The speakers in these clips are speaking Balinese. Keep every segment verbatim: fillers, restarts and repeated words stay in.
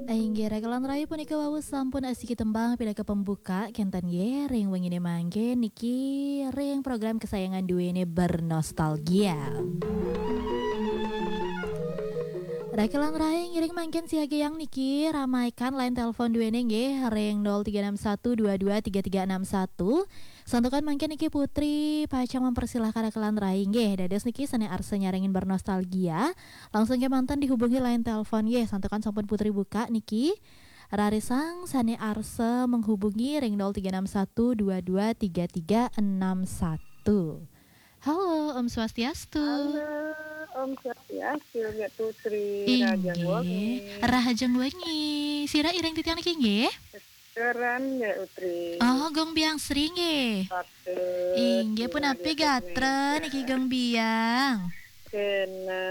Inggih, raka lan rai, punika wau sampun asiki tembang pinaka pembuka, kenten nggih, ring wengine mangke niki ring program kesayangan duene Bernostalgia. Raka lan rai, ngiring mangkin siagayang niki ramaikan line telepon duene nggih ring nol tiga enam satu dua dua tiga tiga enam satu. Santukan mangkin niki Putri pacang mempersilahkan raka lan rai nggih. Dados niki sane arsa nyarengin bernostalgia, langsung kemanten dihubungi line telepon nggih. Santukan sampun Putri buka niki. Rarisang sane arsa menghubungi ring nol tiga enam satu dua dua tiga tiga enam satu. Halo, Om Swastiastu. Halo, Om Swastiastu, Mbak Putri. Inggih. Rahajeng wengi. Rahajeng wengi. Sira iring titiang niki nggih? Keran ya, Putri. Oh, Gong Biang Sri nggih. Patut. Inggih, punapi gatra niki, Gong Biang? Kena,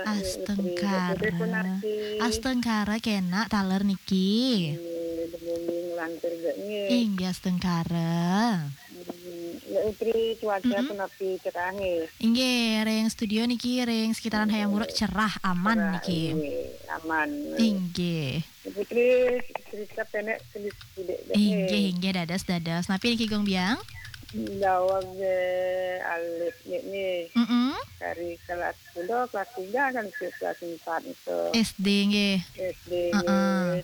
Mbak Putri. Astungkara. Putri punapi? Astungkara kena taler niki. Inggih, demi lantur nggih. Inggih, astungkara. Hmm, Mbak Putri, cuaca punapi cerahe? Inggih, ring studio niki, ring sekitaran Hayam Wuruk cerah, aman niki. Inggih, aman. Inggih. Mbak Putri, cerita pendek sedikit, nggih. Inggih, inggih, dados, dados. Napi niki, Gong Biang? Daweg, eh, alit niki. Mm-mm. Dari kelas, udah kelas tiga kan, ke kelas empat itu. S D nggih. S D nggih. Heeh.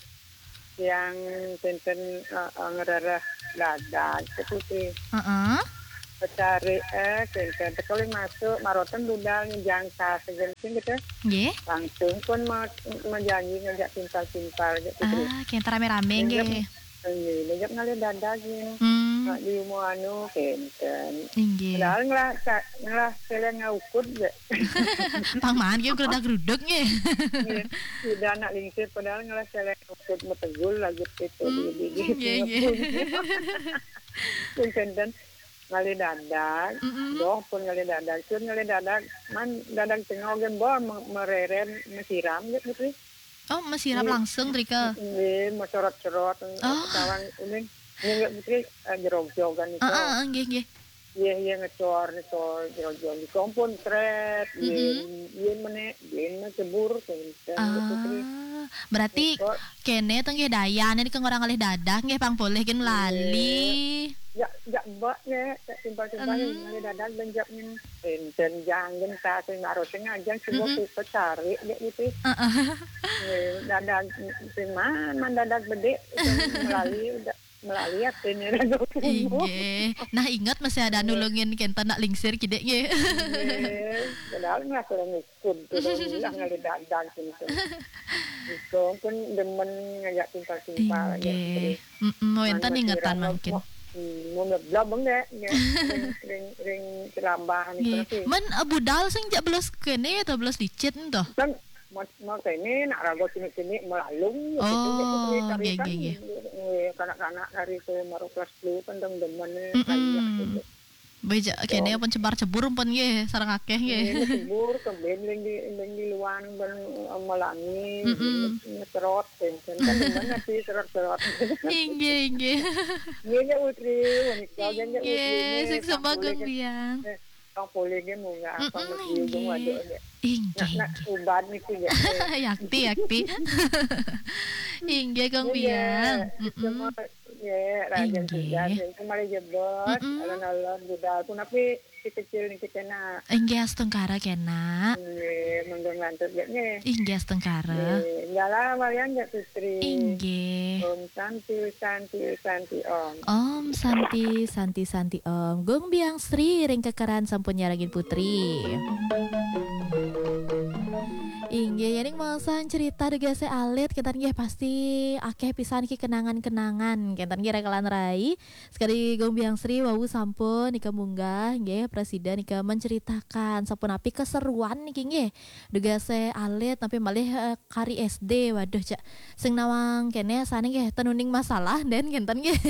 Yang tenten, eh, eh, ngerereh dadag, Mbak Putri. Heeh. Pecari, eh, kenten teka masuk, marotan budal nyejang tas, saja mungkin gitu. Nggih. Langsung pun me-, menjanji ngajak timpal-timpal, gitu. Ah, kenten rame-rame, nggih. Nggih, ngajak ngalih dadag, nggih. Hmm. Mak di rumah anu, kenten. Inggih. Padahal ngelah, ngelah seleng ngaukud, nggih. Pang maan, nggih, gerudak-geruduk, nggih. Nggih. Sudah anak lingsir, padahal ngelah seleng ngaukud, metegul lagi, gitu, di, di, di, nggih, nggih. Pun kenten. Ngalih dadag, mm-mm, doh pun ngalih dadag, sun ngalih dadag, man dadag tengah ogen bol me-, mereren, mesiram, gitu, Putri. Oh, mesiram langsung, drika? Nggih, meserot-serot, oh, tawang uning, nggih, Putri, eh, jerog-jogan itu. Heeh, heeh, nggih, nggih. Iya, iya, ngecor, ngecor, jerog-jog. Di kompon, tret, mm-mm, iya, iya, mene, iya, mene cebur, gitu. Ah, berarti kene to nggih dayane niki ngorang ngalih dadag nggih, pang polih kin lali. Ya, ya, mbak nggih, ya, simpel-simpel ngalih dadag ben jak ngin enten janggen ta sing harus sing ajang sing kok pecari dek gitu. Heeh. Nggih, dadag sing man, man dadag bedik, sing melali udah melali atene raga. Inggih. Nah, inget masih ada nulungin kenten nak lingsir kidik nggih. Nggih. Padahal nggak kurang ikut, kurang bilang ngalih dadag gitu. Itu pun demen ngajak timpal-timpal, ya, inggih. Terus. Mm-mm, wenten ingetan mangkin. Mau, hmm, mau ngeblab enggak, ya. Ring, ring, ring ceramah gitu sih. Men, eh, budal sing jak belas kene atau belas licit ento? Kan Mas, mas ini nak raga sini-sini melalung, gitu, oh, gitu, nggih, tarikan, nggih, nggih, nggih. Nggih, kanak-kanak hari ke maru kelas telu kan dong demen, mm-mm, kayak gitu. Beja kene pun cebar cebur pun nggih, sareng akeh nggih. Nggih, cebur, keben ling di, ling di luar, ben, eh, melangi, mm-mm, ngeserot, kan, kan demen sih serot-serot. Inggih, inggih. Nggih, nggih, Putri, menika, nggih, nggih, Putri, inggih, nggih, sing sembah Kang Biang. Eh, Kang Polih nggih munggah, mm-mm, Kang Mas Biu, inggih. Waduh, nggih. Inggih, nak, nak inggih. Ubat niki, nggih. Yakti, yakti. Inggih, Kang Biang. Nggih, mm-mm. Semua, nggih, raja inggih. Sudah, nggih, kembali jebot, mm-mm, alon-alon budal. Punapi si kecil niki kena. Inggih, astungkara kena. Nggih, monggo nglantur, nggih, nggih. Inggih, astungkara. Nggih, jala walian, nggih, Putri. Inggih. Om Santi, Santi, Santi, Om. Om Santi, Santi, Santi, Om. Gung Biang Sri ring kekeran sampun nyarengin Putri. Inggih, yening maosan cerita dugase alit, kenten nggih pasti akeh pisan ki kenangan-kenangan. Kenten nggih raka lan rai. Sekadi Gung Biang Sri wau sampun nika munggah nggih, prasida nika menceritakan sapunapi keseruan niki nggih. Dugase alit napi malih, eh, kari S D, waduh, cak sing nawang kene sane nggih ten uning masalah den kenten nggih.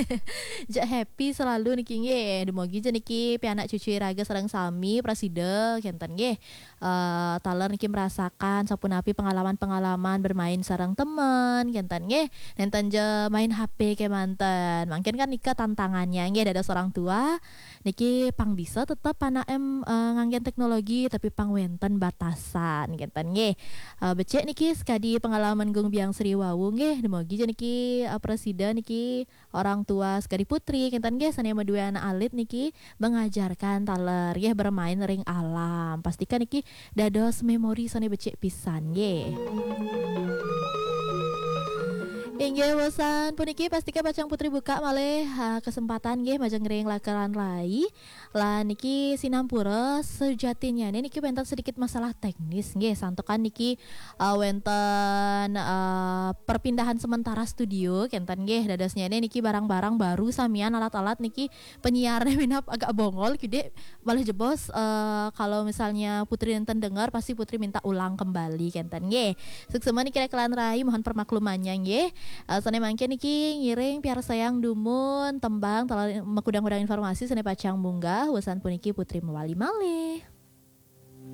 Jak happy selalu niki nggih. Dumugi ja niki pianak cucu iraga sareng sami prasida kenten nggih. Eh, taler niki merasakan punapi pengalaman-pengalaman bermain sareng temen, kenten nggih. Nenten ja main H P kemanten. Mangkin kan nika tantangannya nggih dados orang tua. Niki pang bisa tetep anak em eh, nganggen teknologi tapi pang wenten batasan, kenten nggih. Eh, becik niki sekadi pengalaman Gung Biang Sri wau nggih. Demogi ja niki eh, presida niki orang tua sekadi putri, kenten nggih, sane madue anak alit niki mengajarkan taler nggih bermain ring alam. Pastikan niki dados memori sane becik pisan nggih. Inggih, wusan puniki pastika pacang putri buka malih ha, kesempatan nggih majeng ring lakeran rai. Lan niki sinampura sejatinya niki wenten sedikit masalah teknis nggih, santukan niki uh, wenten uh, perpindahan sementara studio, kenten nggih, dadosnya niki barang-barang baru samian, alat-alat niki penyiarnya minap agak bongol kide. Malah jebos uh, kalau misalnya putri nenten dengar pasti putri minta ulang kembali, kenten nggih. Suksema niki lakeran rai, mohon permaklumannya nggih. Uh, sane mangkin niki ngiring piarsayang dumun tembang taler makudang-kudang informasi sane pacang munggah. Wusan puniki putri mewali malih.